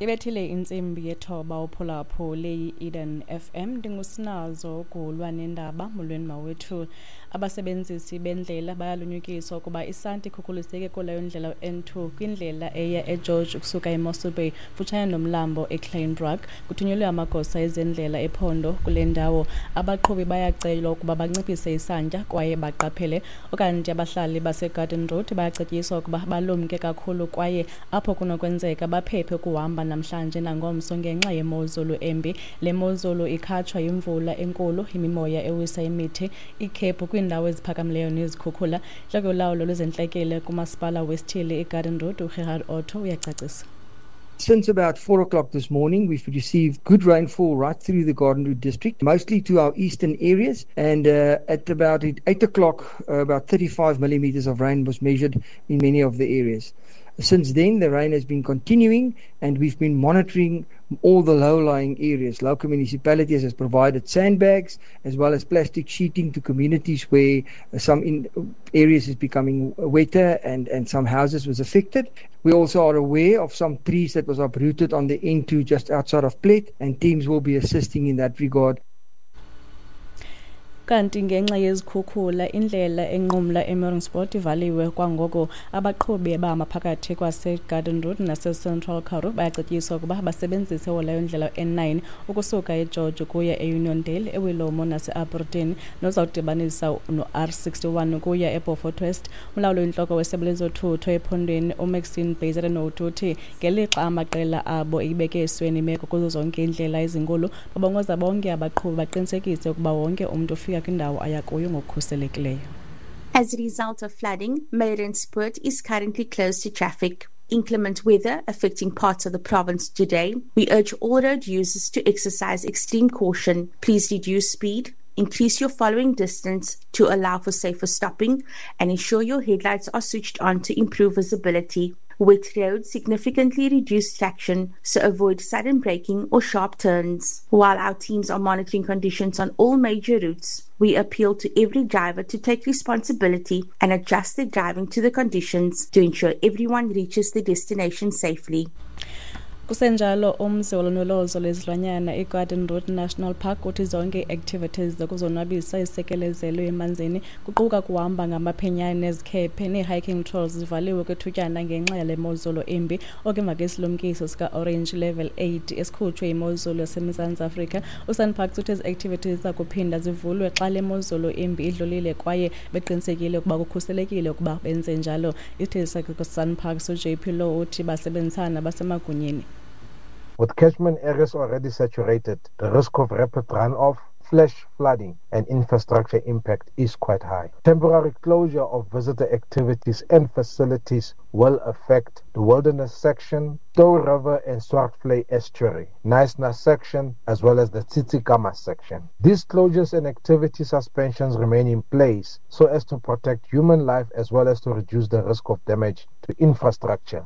Ibethile intsimbi yethoba uphulaphule yi-Eden FM. Ndingusinazo ugulwa nendaba. Molweni mawethu. Abasebenzisi bendlela bayalunyukiswa ukuba isanti ikhukhuliseke kuleyo ndlela u-N2 kwindlela eya eGeorge ukusuka eMossel Bay futshane nomlambo eKleinbrak. Kuthunyelwe amagosa ezendlela ephondo kule ndawo. Abaqhubi bayacelwa ukuba banciphise isantya kwaye baqaphele. Ukanti abahlali baseGarden Road bayacetyiswa ukuba balumke kakhulu kwaye apho kunokwenzeka baphephe ukuhamba namhlanje nangomso ngenxa yemozulu embi. Le mozulu ikhatshwa yimvula enkulu, imimoya ewisa imithi, ikhephu kwiindawo eziphakamileyo nezikhukhula. Intloko yolawulo lwezentlekele kumasipala wesithili iGarden Road, uGerhard Otto, uyacacisa. Since about 4 o'clock this morning, we've received good rainfall right through the Garden Route district, mostly to our eastern areas. And at about 8 o'clock, about 35 millimeters of rain was measured in many of the areas. Since then, the rain has been continuing, and we've been monitoring all the low-lying areas. Local municipalities has provided sandbags as well as plastic sheeting to communities where some in areas is becoming wetter and some houses was affected. We also are aware of some trees that was uprooted on the N2 just outside of Plet, and teams will be assisting in that regard. Kanti ngenxa yezikhukhula indlela enqumla eMeiringspoort ivaliwe kwangoko. Abaqhubi abahamba phakathi kwaseGarden Road naseCentral Karoo bayacetyiswa ukuba basebenzise leyo ndlela N9 ukusuka eGeorge ukuya eUniondale, eWilomo nase-Albertine, nozawudibanisa no-R61 ukuya eBeaufort West. Umlawuli oyintloko wesebe lezothutho ephondweni uMaxine Bezuidenhout uthi ngelixa amaqela abo eyibeke esweni imeko kuzo zonke iindlela ezinkulu, babongoza bonke abaqhubi baqinisekise ukuba wonke umntu ufika kwindawo aya kuyo ngokukhuselekileyo. As a result of flooding, Meiringspoort is currently closed to traffic. Inclement weather affecting parts of the province today, we urge all road users to exercise extreme caution. Please reduce speed, increase your following distance to allow for safer stopping, and ensure your headlights are switched on to improve visibility. Wet roads significantly reduce traction, so avoid sudden braking or sharp turns. While our teams are monitoring conditions on all major routes, we appeal to every driver to take responsibility and adjust their driving to the conditions to ensure everyone reaches their destination safely. Kusenjalo, umzi wolondolozo lwezilwanyana iGarden Route National Park uthi zonke ii-activities zokuzonwabisa ezisekelezelwe emanzini, kuquka kuhamba ngamaphenyane nezikhephe nee-hiking trails, zivaliwe kwethutyana ngenxa yale mozulu imbi. Oku emva kwesilumkiso sika-orange level 8 esikhutshwe yimozulu yaseMzantsi Afrika. USANParks uthi ezi activities ziza kuphinda zivulwe xa le mozulu imbi idlulile kwaye beqinisekile ukuba kukhuselekile ukuba benze njalo. Isithethi sakhe SANParks uJP Low uthi basebenzisana nabasemagunyeni. With catchment areas already saturated, the risk of rapid runoff, flash flooding, and infrastructure impact is quite high. Temporary closure of visitor activities and facilities will affect the Wilderness section, Touw River and Swartvlei Estuary, Knysna section, as well as the Tsitsikamma section. These closures and activity suspensions remain in place so as to protect human life as well as to reduce the risk of damage to infrastructure.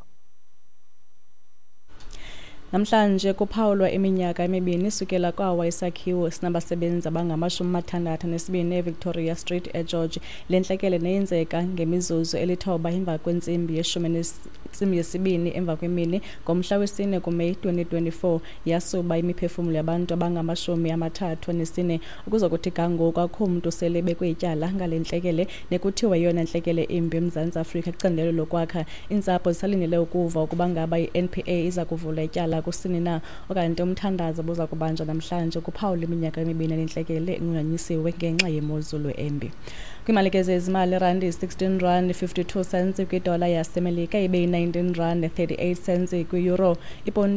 Namhlanje kuphawulwa iminyaka emibini sukela kwawa isakhiwo sinabasebenzi abangama-62 eVictoria Street eGeorge. Le ntlekele neyenzeka ngemizuzu elithoba emva kwentsimbi yeshumi nentsimbi yesibini emva kwemini ngomhla wesine kuMeyi 2024 yasuba imiphefumlo yabantu abangama-34. Ukuzokuthi ga ngoku akukho mntu sele ebekwe ityala ngale ntlekele nekuthiwa yeyona ntlekele imbi eMzantsi Afrika kwicandelo lokwakha. Iintsapho zisalindele ukuva ukuba ngaba i-NPA iza kuvula ityala kusini na. Okanti umthandazo buza kubanjwa namhlanje kuphawula iminyaka emibini yale inqunyanyisiwe ngenxa yemozulu embi. Kwiimali ke zezimali, irandi 16 rand 52 cents kwidola yaseMelika, ibe yi-19 rand 38 cents kwi-euro. Iponti.